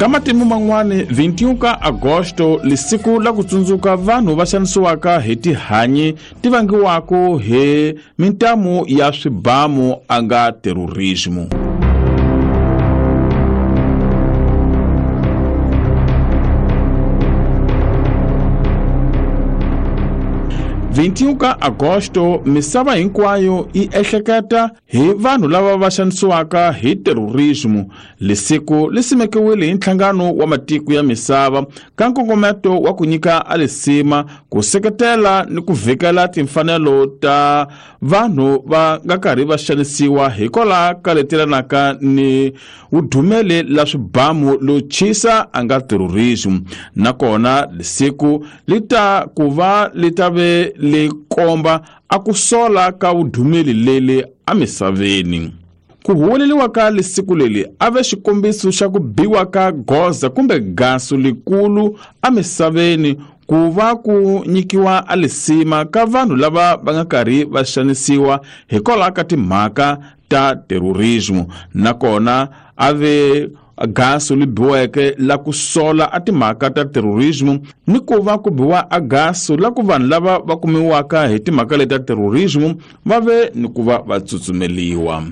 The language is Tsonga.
Ka matimu man'wani, 21 ka Agosto lisiku la ku tsundzuka vanhu va xanisiwaka hi tihanyi ti vangiwaka hi mintamu ya swibamu a nga terrorismo. 21 ka Agosto misava hinkwayo yi ehleketa hi vanhu lava va xanisiwaka hi terrorismo. Lisiku li simekiwile hi nhlangano wa matiko ya misava ka nkongometo wa ku nyika alisima ku seketela ni ku vhikela timfanelo ta vanhu va nga karhi va xanisiwa hikwalaho ka letelanaka ni vudumeli la swibamu lo chisa a nga terrorism. Nakona lisiku li ta ku va li ta ve li komba a ku sola ka vudumeli leli emisaveni. Ku huweleliwa ka lisiku leli a ve xikombiso xa ku biwa ka goza kumbe gaso likulu emisaveni ku va ku nyikiwa alisima ka vanhu lava va nga karhi va xanisiwa hikwalaho ka timhaka ta terrorismo. Nakona a ve gaso li biweke la ku sola a timhaka ta terrorismo ni ku va ku biwa a gaso la ku vanhu lava va kumiwaka hi timhaka leti ta terrorismo va ve ni ku va va tsutsumeliwa.